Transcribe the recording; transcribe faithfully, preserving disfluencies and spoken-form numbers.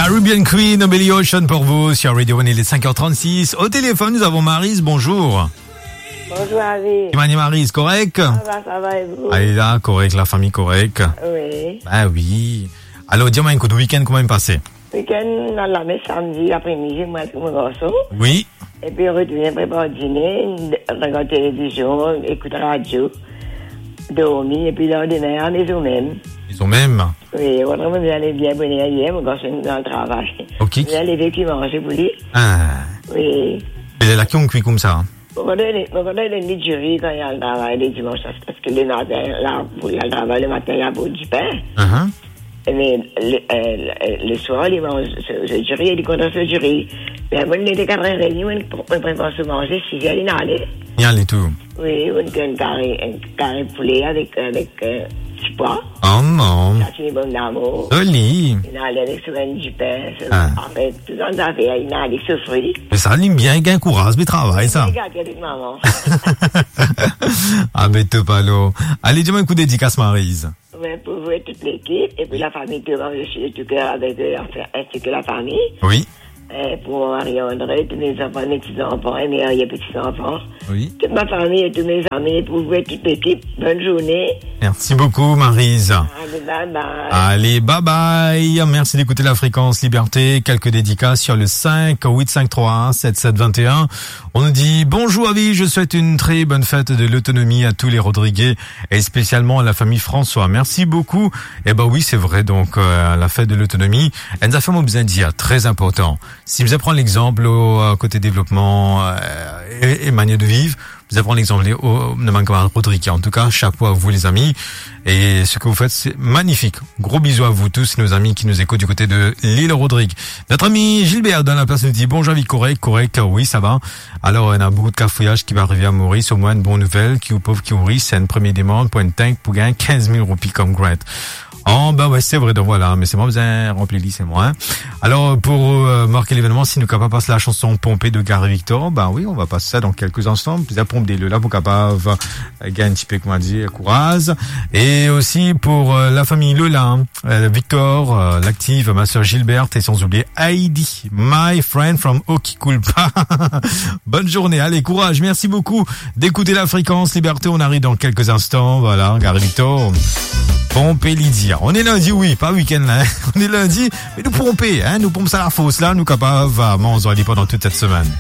Caribbean Queen, Billy Ocean pour vous sur Radio One, il est cinq heures trente-six. Au téléphone, nous avons Maryse, bonjour. Bonjour, Avi. Kouma Maryse, korek? Ça va, ça va, et vous? Alé la, korek, lafami korek? Oui. Ben oui. Alor, di mwa, ekout, week-end, kouma li pase? Week-end, nou al lames samedi apremidi, mwa avek mo garson. Oui. Epi retourne prepar dine, regard televizion, ekout radio, dormi, epi landime, a mezon mem. Mezon mem? Oui, otreman, nou ale bien boner yer, mo garson dan travay. Ok. Nou ale veki manze pou li. Ah. Oui. E la, ki ou kwi koumsa? Mo kontan donn li, mo kontan donn li diri kan li al travay le dimans, parski le matin, la, pou li al travay le matin, li a pou dipin. Ahan. E me le, eh, le, le swar, li manz so, so diri, li kontan so diri. Me mwa, li ete katrer edmi, mwa, mwa prepar so manze, sizer, li ale. Li ale tou. Oui, enn, enn kari, enn kari poule avek, avek, eh, ti pwa. Oh non. Sa, se bon lamour. Zoli. Li ale avek so bann dipin, so, ah, anfin, tou sa zafer, li ale sofri. Me sa, li bien gagn kouraz, me travay sa. Li gagn avek mama. Ah, be top alor. Ale, di mwa, ekout, dedikas Maryse. Ouais, pour vous et toute l'équipe, et puis la famille Thomas, je suis de tout cœur avec eux, enfin, ainsi que la famille. Oui. Euh, pour mon mari André, tous mes enfants, mes petits-enfants et mes arrière-petits-enfants. Oui. Toute ma famille et tous mes amis, pour vous et toute l'équipe, bonne journée. Merci beaucoup, Maryse. Allez, bye bye. Allez, bye bye. Merci d'écouter la Fréquence Liberté. Quelques dédicaces sur le cinq huit cinq trois un sept sept vingt et un. On nous dit : « Bonjour Avi, je souhaite une très bonne fête de l'autonomie à tous les Rodriguais et spécialement à la famille François. » Merci beaucoup. Eh ben oui, c'est vrai, donc, euh, la fête de l'autonomie, enn zafer mo bizin dir, très important. Si nou pran l'exemple au, euh, côté développement, euh, et, et manière de vivre, nou pran l'exemple au, de ma camarade Rodriguez. En tout cas, chapeau à vous, les amis. Et ce que vous faites, c'est magnifique. Gros bisous à vous tous, nos amis qui nous écoutent du côté de l'île Rodrigue. Notre ami Gilbert dans la place nous dit : « Bonjour Avi, korek, korek, oui, ça va. » Alors, on a beaucoup de cafouillage qui va arriver à Maurice. Au moins, une bonne nouvelle, ki ou pov ki ou ris, c'est une première demande pour une tank pour gagner quinze mille roupies comme grant. Oh, ben ouais, c'est vrai, donc voilà, mais c'est moi, vous avez rempli, c'est moi, hein. Alors, pour, euh, marquer l'événement, si nou kapav pas la chanson Pompé de Gary Victor, ben oui, on va passer ça dans quelques instants. Bizin ponp de Lola pou kapav, euh, gagn enn tipe, kouma dir, kouraz. Et aussi pour, euh, la famille Lola, hein, euh, Victor, euh, l'active, ma sœur Gilberte et sans oublier Heidi, my friend from Oki Kulpa. Bonne journée, allez, courage, merci beaucoup d'écouter la Fréquence Liberté. On arrive dans quelques instants, voilà, Gary Victor. Ponpe Lydia. On est lundi, oui, pas week-end là, hein. On est lundi, mais nou ponpe, hein, nou ponp sa lafors la, nou kapav, euh, manz ali pendant toute cette semaine.